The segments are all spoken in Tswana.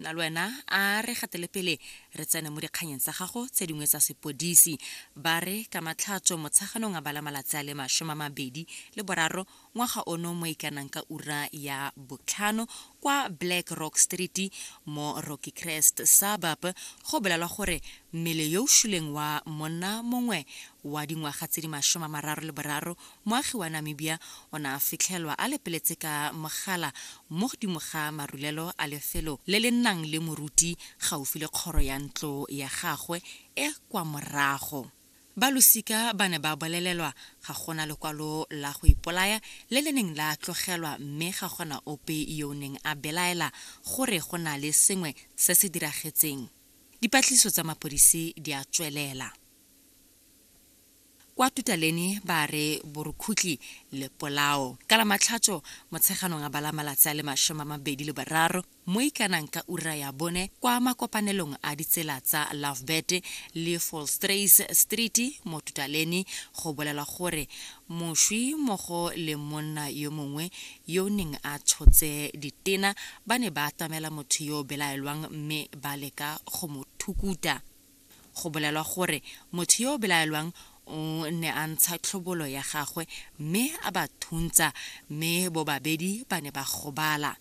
Na le wena a re gatele pele re tsene mo dikganyeng tsa gago tse dingwe tsa sepodisi. Ba re ka Matlhatso Motsheganong a bala malatsi a le 23 ngwaga ono mo e kanang ka ura ya botlhano kwa Black Rock Street mo Rocky Crest suburb go bolelwa gore mmele yo o shuleng wa monna mongwe wa dingwaga tse di 33 Moagi wa Namibia o ne a fitlhelwa a lepeletse ka mogala mo godimo ga marulelo a lefelo le le nnang le moruti gaufi le kgoro ya ntlo ya gagwe e kwa morago. Ba losika ba ne ba bolelelwa ga gona lekwalo la go ipolaya le le neng la tlogelwa mme ga gona ope yo o neng a belaela gore go na le sengwe se se diragetseng. Dipatlisiso tsa mapodisi di a tswelela. Kwa Tutaleni ba re borukhutli le polao. Ka la Matlhatso, Motsheganong a bala malatsi a le 23 mo ikanang ka ura ya bone kwa makopanelong a ditsela tsa Lovebird le Volstruis Street mo Tutaleni go bolelwa gore moswi mmogo le monna yo mongwe yo o neng a tshotse ditena ba ne ba atamela motho yo o belaelwang mme ba leka go mo thukuta. Go bolelwa gore motho yo o belaelwang o ne a ntsha tlhobolo ya gagwe mme a ba thuntsa mme bobabedi ba ne ba gobala.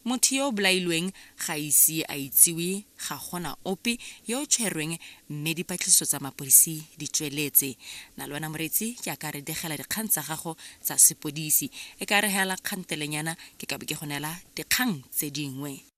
Motho yo o bolailweng ga a ise a itsiwe, ga gona ope yo o tshwerweng mme dipatlisiso tsa mapodisi di tsweletse. Na le wena moreetsi ke a ka re digela dikgang tsa gago tsa sepodisi. E ka re hela kgantelenyana ke ka bo ke go neela dikgang tse dingwe.